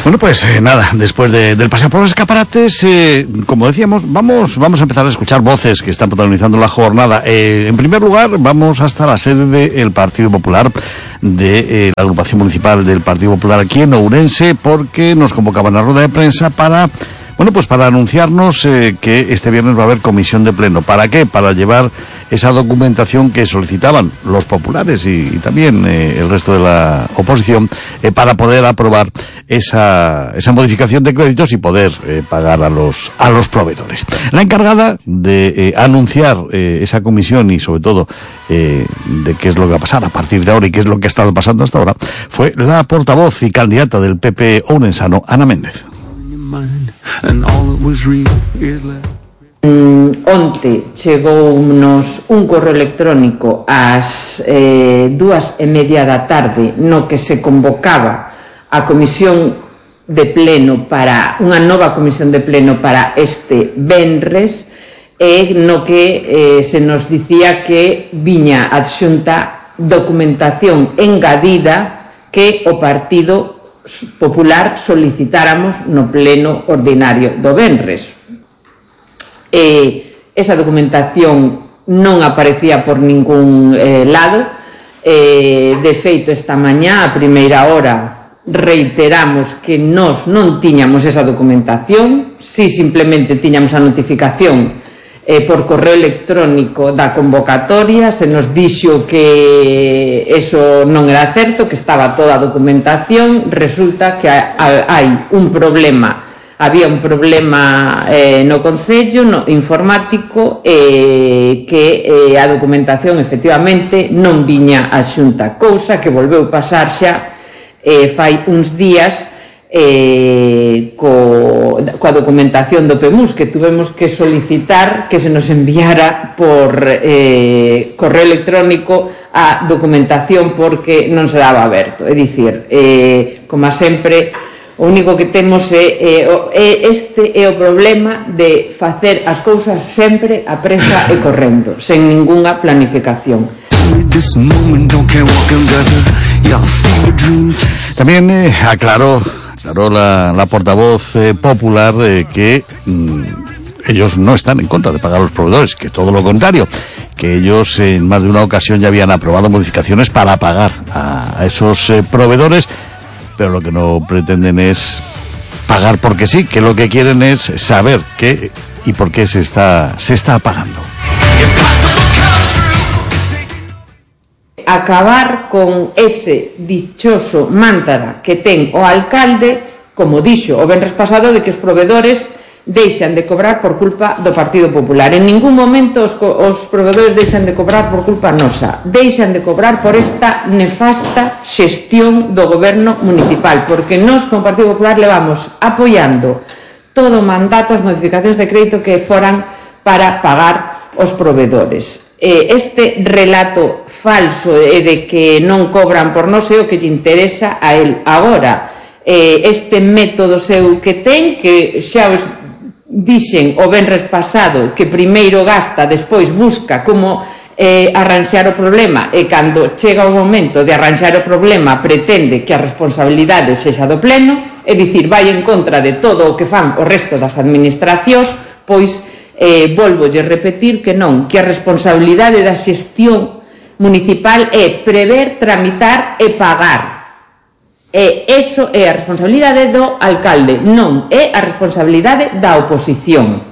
Bueno, pues nada, después del paseo por los escaparates, como decíamos, vamos a empezar a escuchar voces que están protagonizando la jornada. En primer lugar, vamos hasta la sede del Partido Popular, de la agrupación municipal del Partido Popular aquí en Ourense, porque nos convocaban a rueda de prensa para anunciarnos que este viernes va a haber comisión de pleno. ¿Para qué? Para llevar esa documentación que solicitaban los populares y también el resto de la oposición para poder aprobar esa modificación de créditos y poder pagar a los proveedores. La encargada de anunciar esa comisión y sobre todo de qué es lo que va a pasar a partir de ahora y qué es lo que ha estado pasando hasta ahora fue la portavoz y candidata del PP ourensano, Ana Méndez. Onte chegounos un correo electrónico ás 2:30 da tarde no que se convocaba a comisión de pleno para unha nova comisión de pleno para este venres e no que se nos dicía que viña adxunta documentación engadida que o Partido Popular solicitáramos no pleno ordinario do venres. Esa documentación non aparecía por ningún lado. De feito, esta mañá, a primeira hora, reiteramos que nós non tiñamos esa documentación, si simplemente tiñamos a notificación por correo electrónico da convocatoria. Se nos dixo que eso non era certo, que estaba toda a documentación. Resulta que había un problema no Concello informático que a documentación efectivamente non viña a Xunta, cousa que volveu pasar xa fai uns días coa documentación do PEMUS, que tuvemos que solicitar que se nos enviara por correo electrónico a documentación porque non se daba aberto. É dicir, como sempre, o único que temos este é o problema de facer as cousas sempre a presa e correndo, sen ningunha planificación. También aclaró la portavoz popular que ellos no están en contra de pagar a los proveedores, que todo lo contrario, que ellos en más de una ocasión ya habían aprobado modificaciones para pagar a esos proveedores, pero lo que no pretenden es pagar porque sí, que lo que quieren es saber qué y por qué se está pagando. Acabar con ese dichoso mantra que ten o alcalde, como dixo o venres pasado, de que os proveedores deixan de cobrar por culpa do Partido Popular. En ningún momento os proveedores deixan de cobrar por culpa nosa, deixan de cobrar por esta nefasta xestión do goberno municipal, porque nós como Partido Popular levamos apoiando todo o mandato as modificacións de crédito que foran para pagar os proveedores. Este relato falso de que non cobran por nós é o que lle interesa a él agora. Este método seu que ten, que xa os dixen o venres pasado, que primeiro gasta, despois busca como arranxar o problema, e cando chega o momento de arranxar o problema pretende que a responsabilidade sexa do pleno, é dicir, vai en contra de todo o que fan o resto das administracións. Pois volvolle repetir que non, que a responsabilidade da xestión municipal é prever, tramitar e pagar. E iso é a responsabilidade do alcalde, non é a responsabilidade da oposición.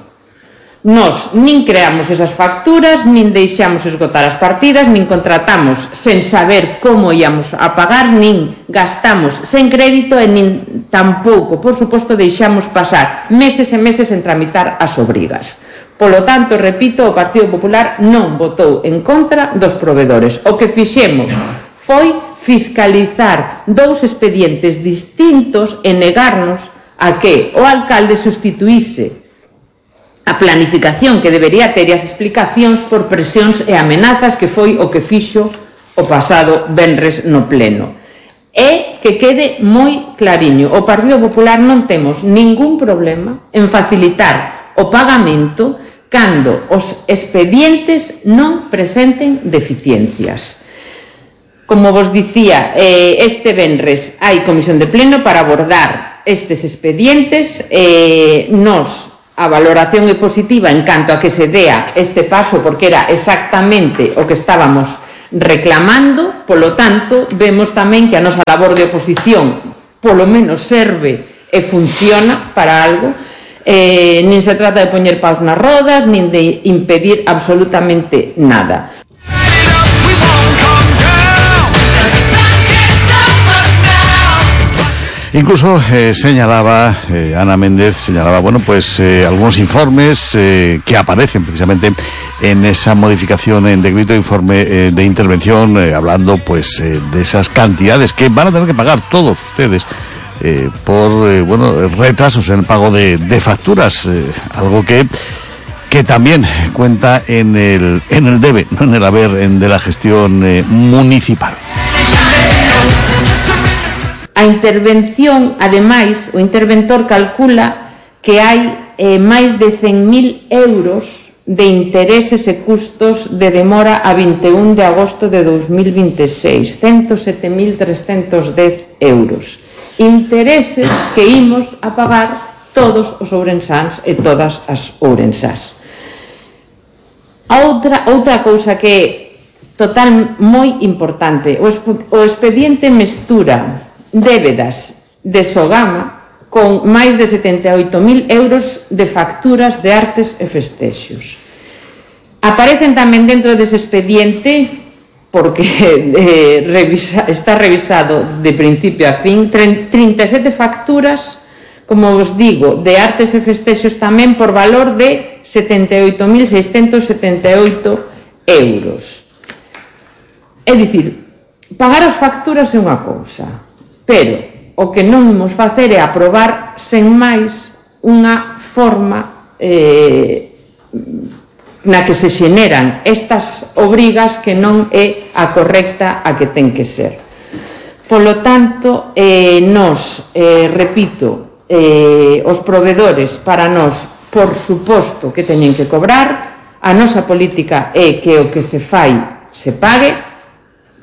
Nós nin creamos esas facturas, nin deixamos esgotar as partidas, nin contratamos sen saber como íamos a pagar, nin gastamos sen crédito e nin tampouco, por suposto, deixamos pasar meses e meses en tramitar as obrigas. Polo tanto, repito, o Partido Popular non votou en contra dos proveedores. O que fixemos foi fiscalizar dous expedientes distintos e negarnos a que o alcalde sustituíse a planificación que debería ter e as explicacións por presións e amenazas, que foi o que fixo o pasado venres no pleno. E que quede moi clariño, o Partido Popular non temos ningún problema en facilitar o pagamento cando os expedientes non presenten deficiencias. Como vos dicía, este venres hai comisión de pleno para abordar estes expedientes. A valoración é positiva en canto a que se dea este paso, porque era exactamente o que estábamos reclamando. Polo tanto, vemos tamén que a nosa labor de oposición polo menos serve e funciona para algo. Nin se trata de poñer paus nas rodas, nin de impedir absolutamente nada. Incluso señalaba Ana Méndez, bueno, pues algunos informes que aparecen precisamente en esa modificación en decreto de informe de intervención, hablando pues de esas cantidades que van a tener que pagar todos ustedes por retrasos en el pago de facturas, algo que también cuenta en el debe, no en el haber de la gestión municipal. A intervención, ademais, o interventor calcula que hai máis de 100.000 euros de intereses e custos de demora a 21 de agosto de 2026, 107.310 euros. Intereses que imos a pagar todos os ourensáns e todas as ourensás. Outra cousa que é moi importante, o expediente mestura débedas de Sogama con máis de 78.000 euros de facturas de artes e festexos. Aparecen tamén dentro dese expediente, porque está revisado de principio a fin, 37 facturas, como vos digo, de artes e festexos tamén por valor de 78.678 euros. É dicir, pagar as facturas é unha cousa, pero o que non imos facer é aprobar sen máis unha forma na que se xeneran estas obrigas que non é a correcta a que ten que ser. Polo tanto, repito, os provedores para nós, por suposto que teñen que cobrar, a nosa política é que o que se fai se pague,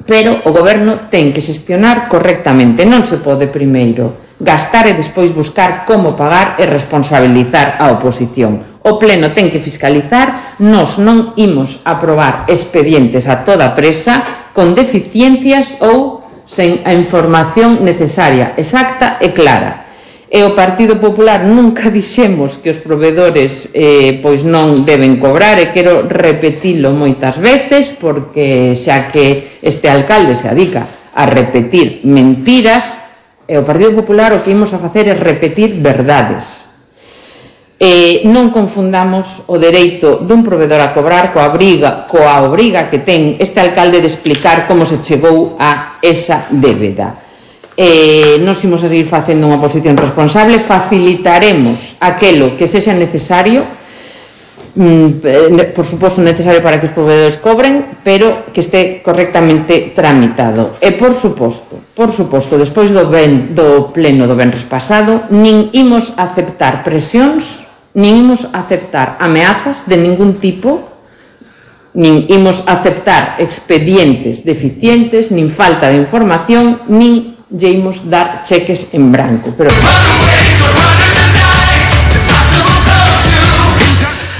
pero o goberno ten que xestionar correctamente. Non se pode primeiro gastar e despois buscar como pagar e responsabilizar a oposición. O pleno ten que fiscalizar. Nós non imos aprobar expedientes a toda presa con deficiencias ou sen a información necesaria, exacta e clara. E o Partido Popular nunca dixemos que os provedores pois non deben cobrar, e quero repetilo moitas veces, porque xa que este alcalde se adica a repetir mentiras, e o Partido Popular o que imos a facer é repetir verdades. Non confundamos o dereito dun provedor a cobrar coa obriga que ten este alcalde de explicar como se chegou a esa débeda. Nos imos a seguir facendo unha oposición responsable, facilitaremos aquelo que sexa necesario, por suposto necesario para que os provedores cobren, pero que este correctamente tramitado. E por suposto, despois do pleno do venres pasado, nin imos aceptar presións, nin imos aceptar ameazas de ningún tipo, nin imos aceptar expedientes deficientes, nin falta de información, nin lle imos dar cheques en branco.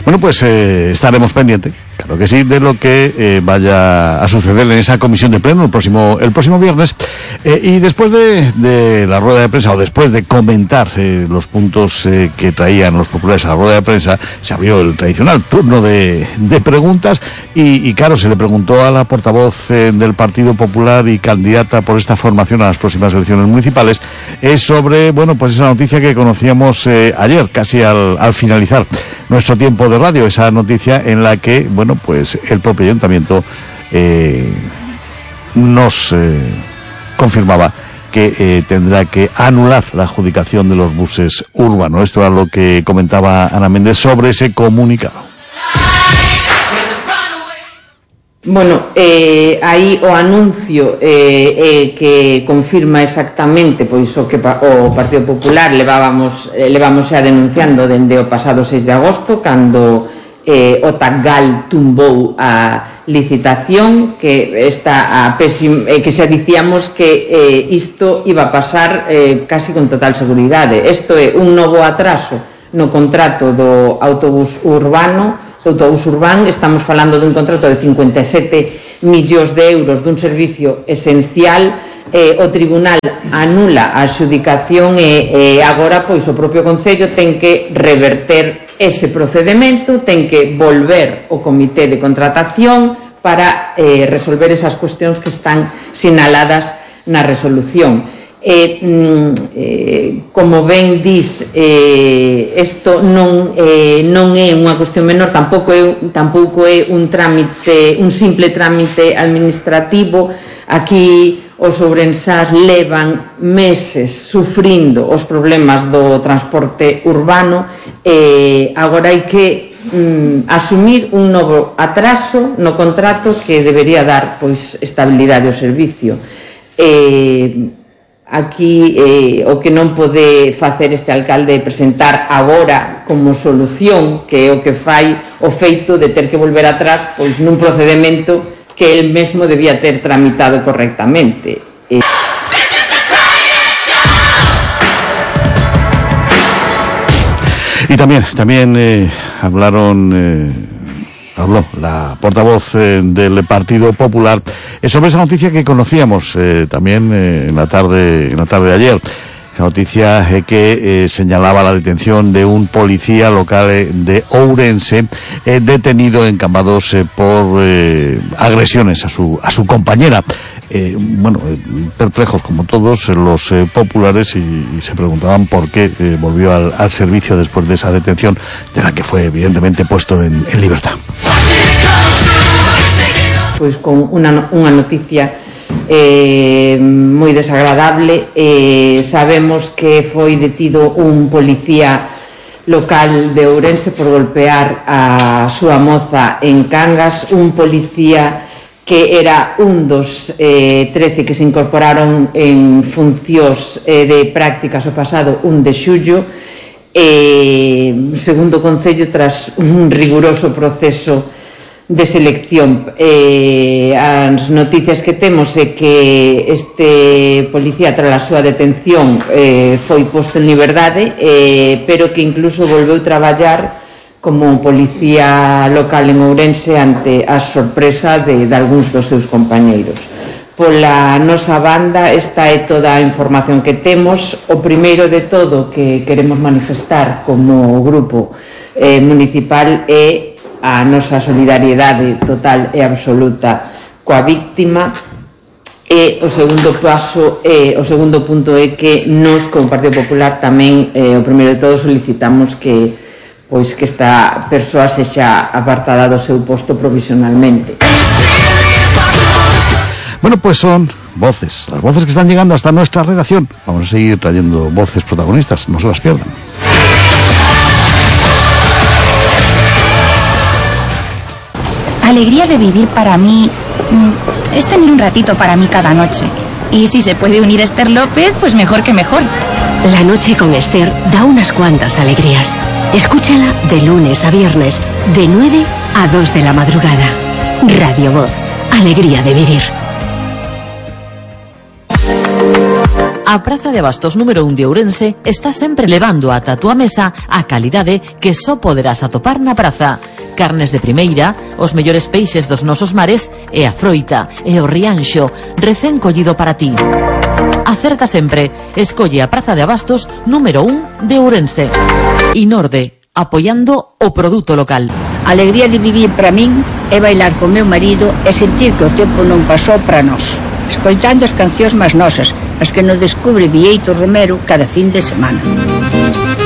Bueno, pues estaremos pendientes, claro que sí, de lo que vaya a suceder en esa comisión de pleno el próximo viernes. Y después de la rueda de prensa, o después de comentar los puntos que traían los populares a la rueda de prensa, se abrió el tradicional turno de preguntas y claro, se le preguntó a la portavoz del Partido Popular y candidata por esta formación a las próximas elecciones municipales sobre, bueno, pues esa noticia que conocíamos ayer, casi al finalizar nuestro tiempo de radio, esa noticia en la que, bueno, pues el propio ayuntamiento nos confirmaba que tendrá que anular la adjudicación de los buses urbanos. Esto era lo que comentaba Ana Méndez sobre ese comunicado. Bueno, aí o anuncio que confirma exactamente pois o que o Partido Popular levamos xa denunciando dende o pasado 6 de agosto, cando o Taggal tumbou a licitación que está que xa dicíamos que isto iba a pasar casi con total seguridade. Isto é un novo atraso no contrato do autobús urbano. O autobús urbano, estamos falando dun contrato de 57 millóns de euros dun servicio esencial. O tribunal anula a adxudicación e agora pois o propio Concello ten que reverter ese procedemento, ten que volver o comité de contratación para resolver esas cuestións que están sinaladas na resolución. Como ben dis, isto non é unha cuestión menor, tampouco é un simple trámite administrativo. Aquí os ourensás levan meses sufrindo os problemas do transporte urbano e agora hai que asumir un novo atraso no contrato que debería dar pois estabilidade ao servicio. Aquí o que non pode facer este alcalde é presentar agora como solución, que é o que fai o feito de ter que volver atrás pois nun procedemento que él mesmo debía ter tramitado correctamente. Y también habló la portavoz del Partido Popular sobre esa noticia que conocíamos también en la tarde de ayer. La noticia que señalaba la detención de un policía local de Ourense detenido en Cambados por agresiones a su compañera. Perplejos como todos los populares y se preguntaban por qué volvió al servicio después de esa detención, de la que fue evidentemente puesto en libertad. Pues con una noticia moi desagradable. Sabemos que foi detido un policía local de Ourense por golpear a súa moza en Cangas, un policía que era un dos 13 que se incorporaron en funcións de prácticas o pasado 1 de xullo, segundo o Concello, tras un riguroso proceso de selección. As noticias que temos é que este policía, tras a súa detención, foi posto en liberdade, pero que incluso volveu traballar como policía local en Ourense ante a sorpresa de algúns dos seus compañeiros. Pola nosa banda, esta é toda a información que temos. O primeiro de todo que queremos manifestar como grupo municipal é a nosa solidariedade total e absoluta coa víctima, e o segundo punto é que nós como Partido Popular tamén o primeiro de todo solicitamos que esta persoa sexa apartada do seu posto provisionalmente. Bueno, pues son voces, las voces que están llegando hasta nuestra redacción. Vamos a seguir trayendo voces protagonistas, no se las pierdan. Alegría de vivir para mí es tener un ratito para mí cada noche. Y si se puede unir Esther López, pues mejor que mejor. La noche con Esther da unas cuantas alegrías. Escúchala de lunes a viernes, de 9 a 2 de la madrugada. Radio Voz, alegría de vivir. A Praza de Abastos número 1 de Ourense está sempre levando ata a túa mesa a calidade que só poderás atopar na praza. Carnes de primeira, os mellores peixes dos nosos mares e a froita e o rianxo recén collido para ti. Acerta sempre, escolle a Praza de Abastos número 1 de Ourense. Inorde, apoiando o produto local. A alegría de vivir para min é bailar con meu marido e sentir que o tempo non pasou para nós, escoitando as cancións máis nosas, as que nos descubre Bieito Romero cada fin de semana.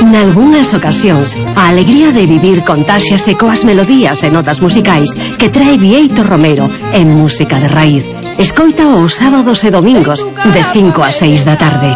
Nalgúnas ocasións, a alegría de vivir contáxiase coas melodías e notas musicais que trae Bieito Romero en música de raíz. Escoita os sábados e domingos de 5 a 6 da tarde.